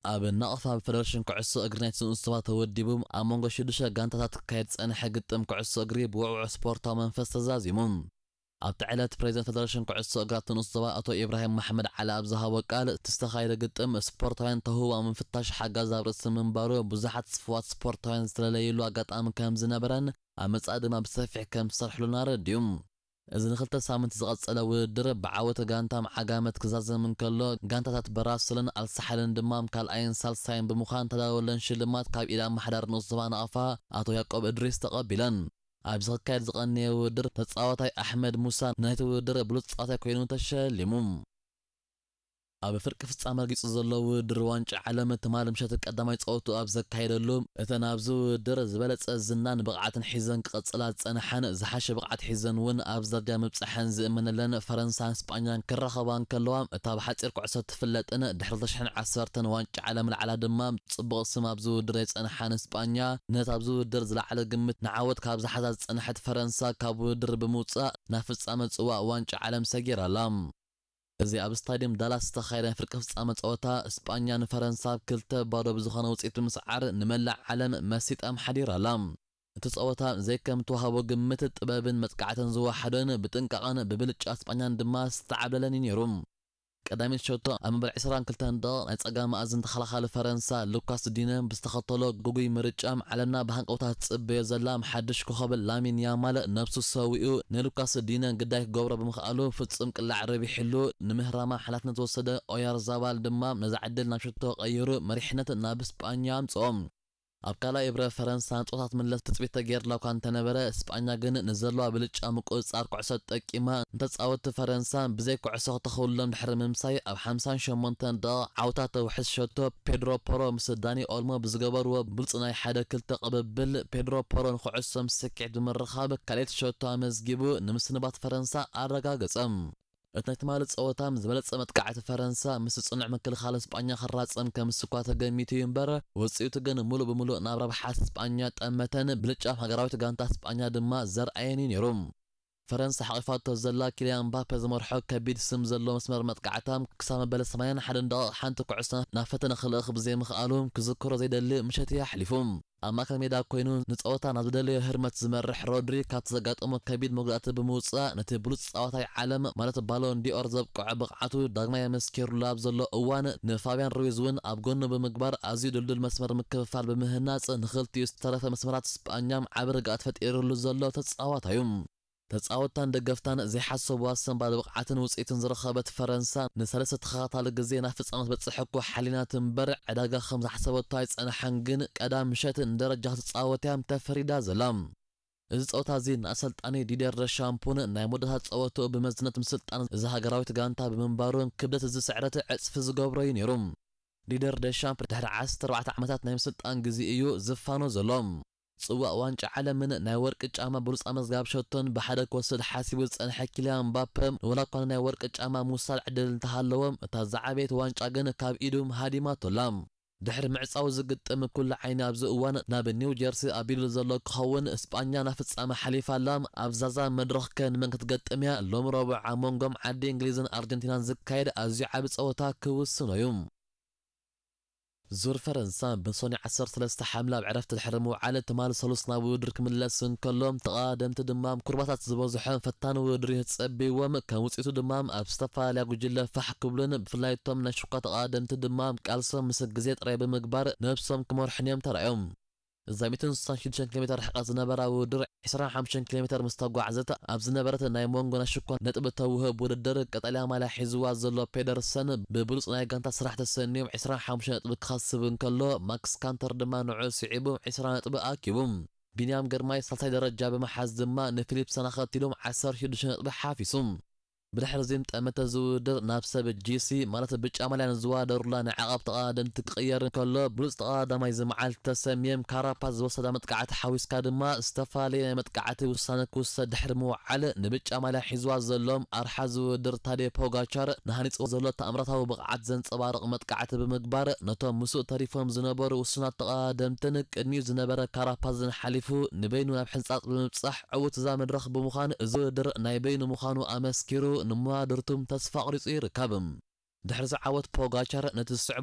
ኣብ ናቕፋ ብፈደረሽን ኩዕሶ እግሪ ናይቲ ንኡስ ዞባ ተወዲቡ ኣብ መንጎ ሽዱሽተ ጋንታታት ክካየድ ዝጸንሐ ግጥም ኩዕሶ እግሪ ብውዕዉዕ ስፖርታዊ መንፈስ ተዛዚሙ። ኣብቲ ዕለት ፕሬዚደንት ፈደረሽን ኩዕሶ እግሪ ናይቲ ንኡስ ዞባ ኣቶ ኢብራሂም መሓመድ ዓሊ ኣብ ዝሃቦ ቃል፣ እቲ ዝተኻየደ ግጥም ስፖርታውያን ተህዋ ምፍታሽ ሓጋዚ ኣብ ርእሲ ምንባሩ ብዙሓት ስፉዋት ስፖርታውያን ዝተለለይሉ ኣጋጣሚ ከም ዝነበረን ኣብ መጻኢ ድማ ብሰፊሕ ከም ዝሰርሕሉን ኣረዲኡ። እዚ ንክልተ ሳምንት ዝቐጸለ ውድድር ብዓወት ጋንታም ዓጋመት ክዛዘም እንከሎ፣ ጋንታታት በራስልን ኣልሳሓልን ድማ ካልኣይን ሳልሳይን ብምዃን ተዳለወለን ሽልማት ካብ ኢድ ኣመሓዳሪ ንኡስ ዞባ ናቕፋ ኣቶ ያቆብ እድሪስ ተቐቢለን። ኣብዚ ክካየድ ዝቐነየ ውድድር ተጻዋታይ ኣሕመድ ሙሳ ናይቲ ውድድር ብሉጽ ተጻዋታይ ኮይኑ ተሸሊሙ። ኣብ ፍርቂ ፍጻመ ረጊጹ ዘሎ ውድድር ዋንጫ ዓለም ትማሊ ምሸት ቀዳማይ ጸወቱ ኣብ ዘካየደሉ፣ እተን ኣብዚ ውድድር ዝበለጸ ዝናን ብቕዓትን ሒዘን ክቐጽላ ዝጸንሓን ዝሓሸ ብቕዓት ሒዘን እውን ኣብ ደረጃ ምብጻሐን ዝእመነለን ፈረንሳን ስጳኛን ክራኸባ እንከለዋ፣ እታ ብሓጺር ኩዕሶ ትፍለጥን ድሕሪ ክልተ ሽሕን ዓሰርተን ዋንጫ ዓለም ልዓላ ድማ ጽቡቕ ስም ኣብዚ ውድድር ዘይጸንሓን ስጳኛ፣ ነታ ኣብዚ ውድድር ዝለዓለ ግምት ንዓወት ካብ ዝሓዛ ዝጸንሐት ፈረንሳ ካብ ውድድር ብምውጻእ ናብ ፍጻመ ጽዋእ ዋንጫ ዓለም ሰጊራ ኣላ። እዚ ኣብ ስታድየም ዳላስ ዝተኻየደ ናይ ፍርቂ ፍጻመ ጸወታ፣ ስጳኛ ንፈረንሳ ብ ክልተ ባዶ ብዝኾነ ውጽኢት ብምስዓር ንመላእ ዓለም መሲጣ ኣምሓዲራ ኣላ። እቲ ጸወታ ዘይከም እተዋህቦ ግምት ጥበብን መጥቃዕትን ዝወሓዶን ብጥንቃቐን ብብልጫ ስጳኛን ድማ ዝተዓብለለን እዩ ነይሩ። ቀዳሚት ሸቶ ኣብ መበል ዕስራን ክልተን ደቂቕ ናይ ጸጋም መኣዝን ተኸላኻሊ ፈረንሳ ሉካስ ዲነ ብዝተኸተሎ ግጉይ ምርጫ፣ ዓለምና ብሃንቀውታ ትጽበዮ ዘላ ሓድሽ ኮኸብ ላሚን ያማል ነብሱ ሰዊኡ ንሉካስ ዲነ ግዳይ ክገብሮ ብምኽኣሉ ፍጹም ቅላዕ ረቢሕሉ። ንምህራማ ሓላፍነት ዝወሰደ ኦያርዛባል ድማ ነዛ ዕድል ናብ ሸቶ ቀይሩ መሪሕነት ናብ ስጳኛ ኣምጽኦ። ኣብ ካልኣይ እብረ ፈረንሳ ንጾታት ምለስ ትጽቢት ተገይርላ እኳ እንተነበረ፣ ስጳኛ ግን ንዘለዋ ብልጫ ምቁጽጻር ኩዕሶ ተጠቂማ ንተጻወትቲ ፈረንሳ ብዘይ ኩዕሶ ክተኽውሎም ድሕሪ ምምሳይ፣ ኣብ ሓምሳን ሸሞንተን ደቂቕ ዓውታ ተውሕስ ሸቶ ፔድሮ ፖሮ ምስ ዳኒ ኦልሞ ብዝገበርዎ ብሉጽ ናይ ሓደ ክልተ ቅብብል፣ ፔድሮ ፖሮ ንኩዕሶ ምስ ስኪዕት ብምርኻብ ካልኣይቲ ሸቶ ኣመዝጊቡ ንምስንባት ፈረንሳ ኣረጋገጸ። እቲ ናይ ትማሊ ጸወታ ምስ ዝበለጸ መጥቃዕቲ ፈረንሳ ምስ ጽኑዕ ምክልኻል ስጳኛ ክራጸም ከም ዝስኳ ተገሚቱ እዩ እምበር፣ ውጽኢቱ ግን ምሉእ ብምሉእ ናብ ረብሓ ስጳኛ ጠመተን ብልጫም ሃገራዊት ጋንታ ስጳኛ ድማ ዘርኣየን እዩ ነይሩ። ፈረንሳ ሓቒፋቶ ዘላ ኪልያን ምባፔ ዝመርሖ ከቢድ ስም ዘለዎ መስመር መጥቃዕታ ክሳብ መበል ሰማንያን ሓደን ደቂቕ ሓንቲ ኩዕሶ ናብ ፈተነ ክልእኽ ብዘይምኽኣሉ ክዝክሮ ዘይደሊ ምሸት እዩ ኣሕሊፉ። ኣብ ማእከል ሜዳ ኮይኑ ንጸወታ ናብ ዝደለዮ ህርመት ዝመርሕ ሮድሪ ካብቲ ዘጋጠሞ ከቢድ መጉዳእቲ ብምውጻእ ነቲ ብሉጽ ጻዋታይ ዓለም ማለት ባሎን ዲኦር ዘብቅዖ ብቕዓቱ ዳግማይ ኣመስኪሩሉ ኣብ ዘሎ እዋን ንፋብያን ሩይዝ እውን ኣብ ጎኑ ብምግባር ኣዝዩ ድልዱል መስመር ምክፍፋል ብምህናጽ ንኽልቲኡ ዝተረፈ መስመራት ስጳኛ ዓቢ ርግኣት ፈጢሩሉ ዘሎ ተጻዋታይ እዩ። ተጻወትታን ደገፍታን ዘይሓሰብዋ ሰንባድ ብቕዓትን ውጽኢትን ዝረኸበት ፈረንሳ ንሰለስተ ተኸታታሊ ግዜ ናብ ፍጻመ ትበጽሕ እኮ ሓሊናት እምበር ዕዳጋ ከም ዝሓሰበቶ ኣይጸንሓን፣ ግን ቀዳም ምሸት ንደረጃ ክትጻወት እያ ተፈሪዳ ዘላ። እዚ ጸወታ እዚ ንኣሰልጣኒ ዲደር ደሻምፖን ናይ መወዳእታ ጸወትኡ ብመዝነት ምስልጣን እዛ ሃገራዊት ጋንታ ብምንባሩ ክብደት እዚ ስዕረት ዕጽፊ ዝገብሮ እዩ ነይሩ። ዲደር ደሻምፕ ድሕሪ ዓሰርተ ኣርባዕተ ዓመታት ናይ ምስልጣን ግዜ እዩ ዝፋኖ ዘሎ። ጽዋእ ዋንጫ ዓለምን ናይ ወርቂ ጫማ ብሉጽ ኣመዝጋብ ሸቶን ብሓደ ክወስድ ሓሲቡ ዝጸንሐ ኪልያን ምባፐ፣ ወላ እኳ ንናይ ወርቂ ጫማ ምውሳድ ዕድል እንተሃለዎ፣ እታ ዝዓበየት ዋንጫ ግን ካብ ኢዱ ሃዲማቶላ። ድሕሪ ምዕጻው ዝግጥም ኩሉ ዓይኒ ኣብዚ እዋን ናብ ኒው ጀርሲ ኣቢሉ ዘሎ ክኸውን፣ ስጳኛ ናብ ፍጻመ ሓሊፋ ኣላ። ኣብ ዛዛ መድረኽ ከ ንመን ክትገጥም እያ? ሎሚ ረቡዕ ኣብ መንጎም ዓዲ እንግሊዝን ኣርጀንቲናን ዝካየድ ኣዝዩ ዓቢ ጸወታ ክውስኖ እዩ። ዙር ፈረንሳ ብሰኑይ ዓሰርተ ሰለስተ ሓምለ ኣብ ዕረፍቲ ድሕሪ ምውዓል፣ ትማሊ ሰሉስ ናብ ውድድር ክምለስ እንከሎ፣ ተቐዳደምቲ ድማ ኩርባታት ዝበዝሖ ፈታኒ ውድድር እዩ ተጸብይዎም። ከም ውጽኢቱ ድማ ኣብ ዝተፈላለያ ጉጅለ ፋሕ ክብሉን ብፍላይ እቶም ናይ ሽኳ ተቐዳደምቲ ድማ ቃልሶም ምስ ግዜ ጥራይ ብምግባር ነብሶም ክመርሑን እዮም ተራእዮም። እዛ ሚእትን ስሳን ሽዱሽተን ኪሎ ሜተር ርሕቀት ዝነበራ ውድድር ዕስራን ሓሙሽተን ኪሎ ሜተር ምስ ተጓዕዘት፣ ኣብ ዝነበረት ናይ መንጎ ናይ ሽኮር ነጥቢ ተውህብ ውድድር ቀጠልያ ማልያ ሒዝዋ ዘሎ ፔደርሰን ብብሉጽ ናይ ጋንታ ስራሕ ተሰንዮም ዕስራን ሓሙሽተ ነጥቢ ክኸስብ እንከሎ፣ ማክስ ካንተር ድማ ንዕኡ ስዒቡ ዕስራ ነጥቢ ኣኪቡ። ቢንያም ግርማይ ሳልሳይ ደረጃ ብምሓዝ ድማ ንፊሊፕሰን ኣኸቲሉ ዓሰርተ ሽዱሽተ ነጥቢ ሓፊሱ። ብድሕሪ እዚ ጠመተ ዝውድር ናብ ሰብ ጂሲ ማለት ብጫ ማልያ ንዝዋደሩላ ናይ ዓቐብ ተቐዳደምቲ ክቕየር እንከሎ፣ ብሉጽ ተቐዳዳማይ እዚ መዓልቲ ተሰምየም ካራፓዝ ዝወሰዳ መጥቃዕቲ ሓዊስካ ድማ ዝተፈላለየ ናይ መጥቃዕቲ ውሳነ ክውሰድ ድሕሪ ምውዓል፣ ንብጫ ማልያ ሒዝዋ ዘሎ ኣርሓ ዝውድር ታዴ ፖጋቻር ንሃኒጽዎ ዘሎ ተኣምራታዊ ብቕዓት ዘንጸባርቕ መጥቃዕቲ ብምግባር፣ ነቶም ምስኡ ተሪፎም ዝነበሩ ውሱናት ተቐዳደምትን ቅድሚኡ ዝነበረ ካራፓዝን ሓሊፉ ንበይኑ ናብ ሕንጻጽ ብምብጻሕ ዕዉት እዛ መድረኽ ብምዃን፣ እዚ ውድድር ናይ በይኑ ምዃኑ ኣመስኪሩ፣ ንመዋድርቱ ተስፋ ኣቑሪጹ ይርከብ። ድሕሪ እዚ ዓወት ፖጋቻር ነቲ ዝስዕቦ